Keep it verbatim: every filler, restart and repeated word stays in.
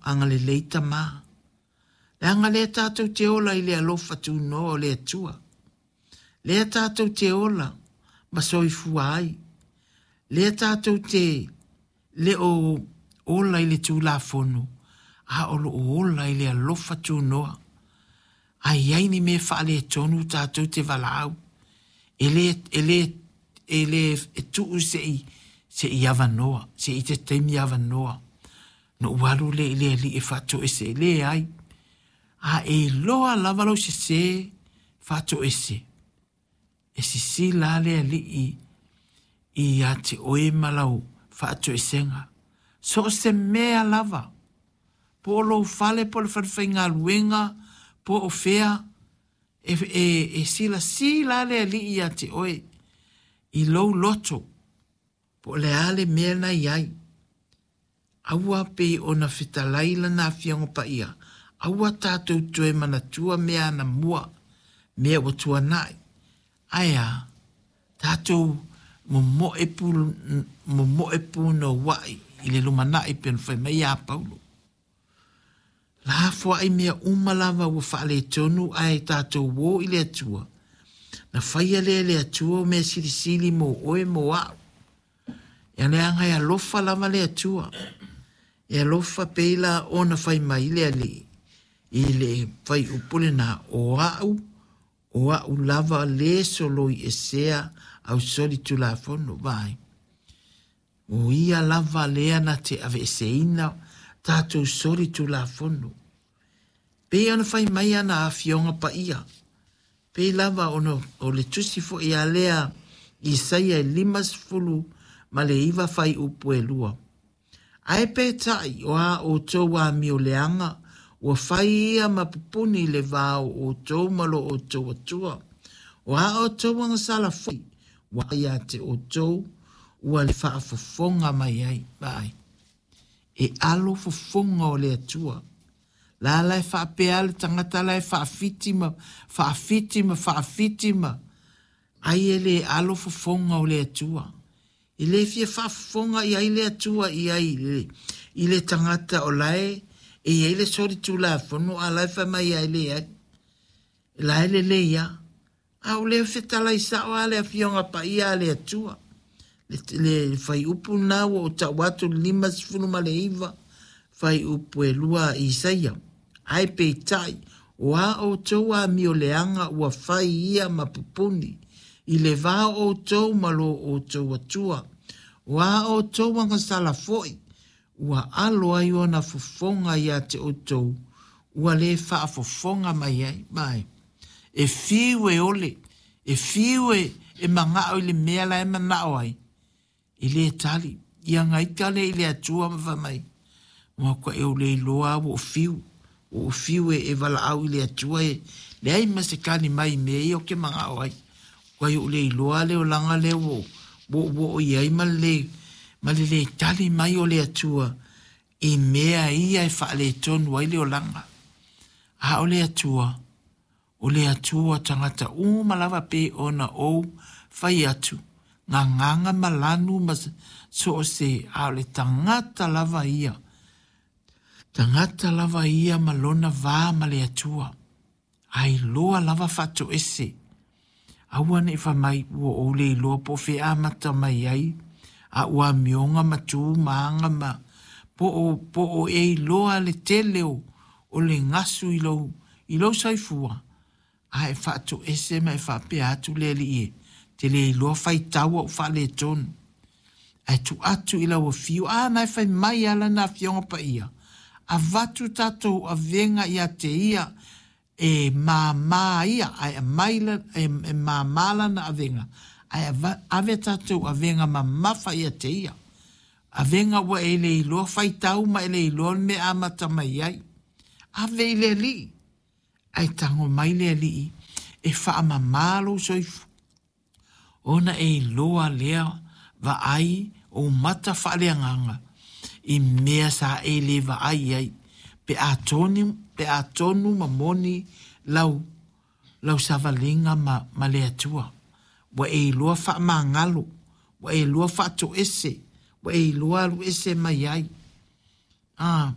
Agalelei Tamā. Leaga lea tātou te ola i le alofa tunoa o le Atua. Lea tātou te ola ma soifua ai. Lea tātou te le o ola i le Tulafono, a o loo ola i le alofa tunoa. Ai ai ni mea faaletonu tātou te valaau. E le, e le, e le e tuu se i, se i avanoa, se i te taimi avanoa. No ualu le i le ali e faatoese e le ai. A e loa lava lau sese faatoese. E sisila le ali i, i a te oe ma lau faatoesenga. So se mea lava. Po o lou fale, po o le falefaigaluega, po o fea, e, e, e silasila le alii ia te oe i lou loto, po o le a le mea na iai. Aua pei ona fetalai lana afioga paia, aua tātou toe manatua mea anamua, mea ua tuanai. Ae a, tātou momoe pu, momoe punouai i le lumanai pe ona fai mai ia Paulo. La foai mea uma lava ua faaletonu ae tātou o i le Atua. Na faia lea e le Atua o mea silisili mo oe mo a'u. Ia leaga e alofa lava le Atua. E alofa pei la ona fai mai le Alii i le fuaiupu lena o a'u, o a'u lava le soloi esea au soli Tulafono vai. O ia lava lea na te aveeseina tātou soli Tulafono. Pei ona fai mai ana afioga paia. Pei lava ona o le tusi foi a lea Isaia e limasefulu ma le iva fuaiupu e lua. Ae peitai o a outou amioleaga, ua fai ia ma pupuni i le va o outou ma lo outou Atua. O a outou agasala foi, ua ia te outou, ua le faafofoga mai ai. Vai. E alo fofoga o le Atua. La la e faapea le tagata la e faafiti ma faafiti ma faafiti ma ai e le alo fofoga o le Atua. E le fia faafofoga i ai le Atua i ai i le, i le tagata o lae e iai le soli Tulafono a lae fai mai ai le ai. La e lelei ia. A o le fetalai sao a le afioga paia a le Atua. Le, le fuaiupu na ua o tau atu le limasefulu ma le iva fuaiupu e lua Isaia. Ae peitai, o a outou amioleaga ua fai ia ma pupuni, i le va o outou ma lo outou Atua. O a outou agasala foi, ua alo ai ona fofoga ia te outou, ua le faafofoga mai ai. Mai. E fiu e ole, e fiu e, e mangao i le mea la e manao ai. E le tali, ia gaika le i le Atua ma fai mai. Mua kua e o le iloa ua o fiu, ua o fiu e, e valaau i le Atua e leai ma se kani mai mea ia o ke mangao ai. Kua i o le iloa le olaga le ua ua o i ai ma le, ma le le tali mai o le Atua i mea ia e faaletonu ai le olaga. A o le Atua, o le Atua tagata uma lava pe ona ou fai atu, gagaga ma lanu ma so o se, a o le tagata lava ia. Tagata lava ia ma lona va ma le Atua. Ai loa lava faatoese. Aua nei fai mai ua ou le iloa po o fea amata mai ai, a ua amioga ma tu ma aga ma po o, po o e iloa le tele o, o le gasu i lou, i lou soifua. A e faatoese ma e faapea atu le Alii e, te le iloa faitau au faaletonu. Ae tuu atu i lau afio, a na e fai mai ala na afioga paia. Avatu tātou avega ia te ia e māmā ia, ae aumai la, e, e māmā lana avega. Ae ava, ave tātou avega mamafa ia te ia. Avega ua e le iloa faitau ma e le iloa le mea amata mai ai. Ave i le Alii. Ae tago mai le Alii e faamamā lou soifua. Ona e iloa lea vaai o mata faaleagaga i mea sa e le vaai ai. Pe a tonu, pe a tonu ma moni lau, lau savaliga ma, ma le Atua. Ua e iloa faamagalo, ua e iloa faatoese, ua e iloa alu ese mai ai. Ah,